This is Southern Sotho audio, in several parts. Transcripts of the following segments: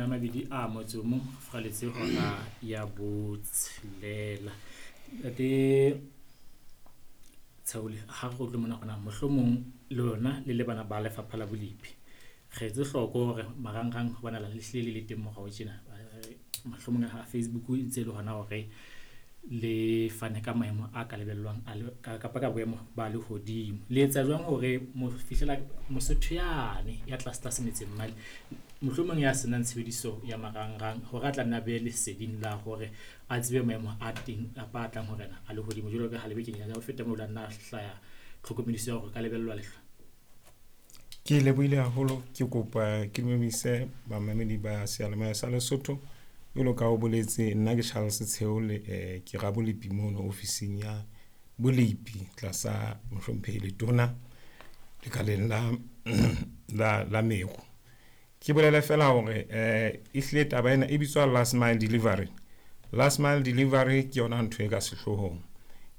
21, furaletse hora ya 6. Ntate Tsheole, ha re utlwe mona gona mohlomong le lona le le bana ba lefapha la bolepi. Re etse hloko hore marangrang ho bonahala le hlile le le teng morao tjena. Mohlomong ha Facebook e ntse le hona hore le fane ka maemo a ka lebellwang a kapa ka boemo ba lehodimo. Le etsa jwang hore mo fihlela Mosotho yane ya tlase tlase metseng mane, mohlomong ya senang tshebediso ya marangrang hore a tla nna be leseding la hore a tsebe maemo a teng kapa a tlang horena a lehodimo, jwalo ka ha le bekeng ya ho feta moo la nna hlaya tlhokomediso ya hore ka lebellwa lehlwa? Ke lebohile haholo. Ke kopa ke dumedise bamamedi ba seyalemoya sa Lesotho. Jwalo ka o boletse, nna ke Charles Tsheole, ke rabolepi mono ofising ya bolepi tlasa mohlomphehi letona lekaleng la meru. Ke bolele fela hore ehlile taba ena e bitswa last mile delivery. Last mile delivery ke yona ntho e ka sehloohong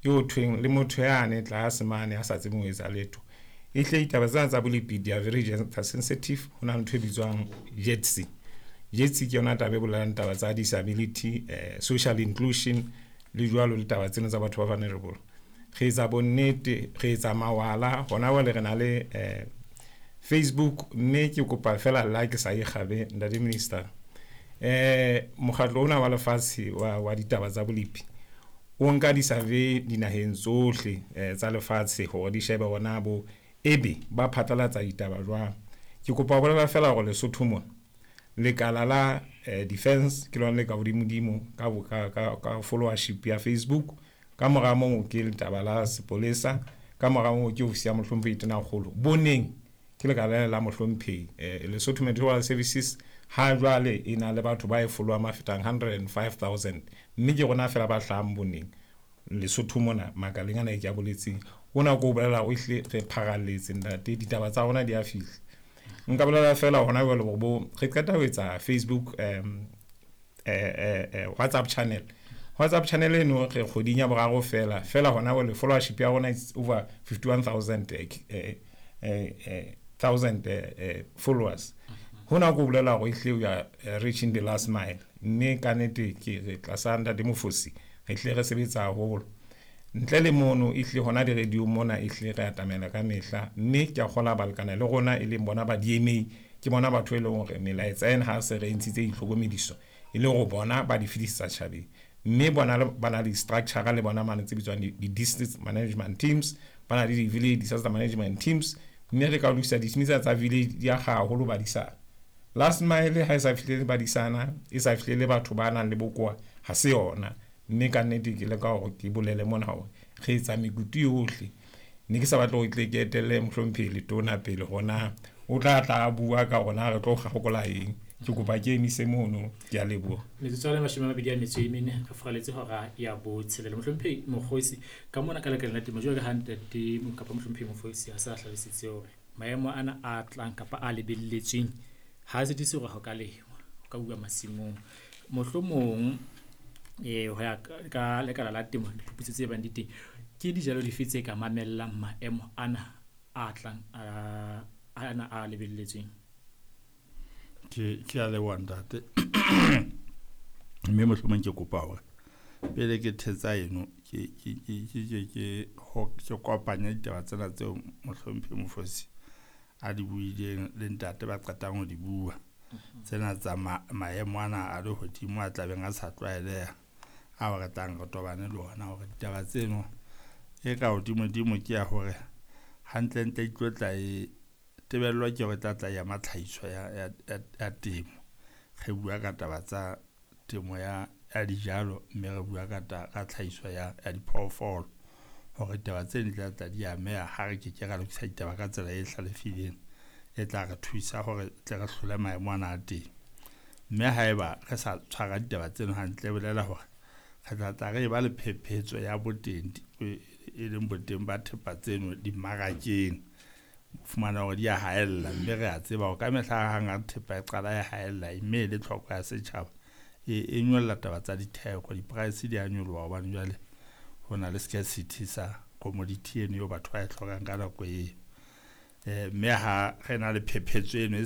eo thweng le motho yane tlase mane a sa tsebeng ho etsa letho. Ehlile ditaba tsena tsa bolepi di are very gender sensitive. Ho na le ntho e bitswang GETC. GETC ke yona taba e bolelang taba tsa disability, social inclusion le jwalo le taba tsena tsa batho ba vulnerable. Re etsa bonnete, re etsa mawala hona jwale re na le Facebook, mme ke kopa fela la ke sa ikgabe, ntate minister. Mokgatlo ona wa lefatshe wa ditaba tsa bolepi o nka di-survey dinaheng tsohle tsa lefatshe hore di shebe hore bo ebe ba phatlalatsa ditaba jwang. Ke kopa ho bolela fela hore Lesotho mona lekala la defense ke lona le ka hodimodimo ka followership ya Facebook. Ka mora moo ke letaba la sepolesa, ka mora moo ke ofisi ya mohlomphehi Tonakgolo. Boneng ke lekala la mohlomphehi Lesotho Meteorological Services. Ha jwale e na le batho ba e followang ba fetang 105,000, mme ke rona fela ba hlahang boneng Lesotho mona makaleng ana e ke a boletseng. Ona ko bolela o ehlile re pharalletse, ntate, ditaba tsa rona di a fihla. Nka bolela fela hona jwale hore bo re qeta ho etsa Facebook, WhatsApp channel. WhatsApp channel eno re kgweding ya boraro fela fela hona jwale followership ya rona is over 51,000 thousand followers. Hona ko bolela hore ehlile we are reaching the last mile, mme ka nnete ke re tlasa ntate Mofosi re hlile re sebetsa haholo. Ntle le mono, ehlile hona di-radio mona ehlile re atamela ka mehla, mme ke a kgola balekane le rona e leng bona ba DMA. Ke bona batho e leng hore melaetsa ena ha se re ntshitse ditlhokomediso e le hore bona ba di fetisetsa tjhabeng, mme bona ba na le di-structure le bona mane tse bitswang di-district management teams, ba na le di-village disaster management teams, mme re ka lokisa di-team tsena tsa village di akga haholo badisana. Last mile ha e sa fihlele badisana, e sa fihlele batho ba nang le bokowa, ha se yona. Mme ka nnete ke leka hore ke bolele mona hore re etsa mekutu yohle. Ne ke sa batle hore tle ke etelle mohlomphehi letona pele hore o tla tla bua ka rona re tlo kgakola eng. Ke kopa ke emise mono, ke a leboha. Metsotso ya 24 re furaletse hora ya 6. Mohlomphehi Mokgosi, ka mona ka lekaleng la temo, jwalo ka ha ntate kapa mohlomphehi Mofosi a sa hlalositse hore maemo ana a tlang kapa a lebelletsweng ha sitise hore ho ka lengwa, ho ka uwa masimong. Mohlomong ho ya ka lekala la temo, diphuputso tse bang di teng, ke dijalo dife tse ka mamellang maemo ana a tlang ana a lebelletsweng? Ke a leboha, ntate, mme mohlomong ke kopa hore pele ke thetsa eno ke kopanye ditaba tsena tseo mohlomphehi Mofosi a di buileng le ntate ba qetang ho di bua, tsena tsa maemo ana a lehodimo a tlabeng a sa tlwaeleha ao re tlang re tobane le ona, hore ditaba tseno e ka hodimodimo ke ya hore hantlentle e tlo tla e tebellwa ke hore e tla tla ya tlhahiso ya temo. Re bua ka taba tsa temo ya dijalo, mme re bua ka tlhahiso ya diphoofolo, hore ditaba tse di tla tla di ameha ha re ke ke ra lokisa ditaba ka tsela e hlalefileng e tla re thusa hore tle re hlole maemo ana a teng. Mme haeba re sa tshwara ditaba tseno hantle, e bolela hore re tla tla re ba le phephetso ya boteng, e leng boteng ba thepa tseno dimmarakeng, fumana hore di a haella. Mme re a tseba hore ka mehla hang ha thepa e qala e haella, mme e le tlhoko ya setjhaba, e nyolla taba tsa ditheko, di-price di a nyoloha, hobane jwale ho na le scarcity sa commodity eno eo batho ba e hlokang ka nako eo. Mme ha re na le phephetso eno e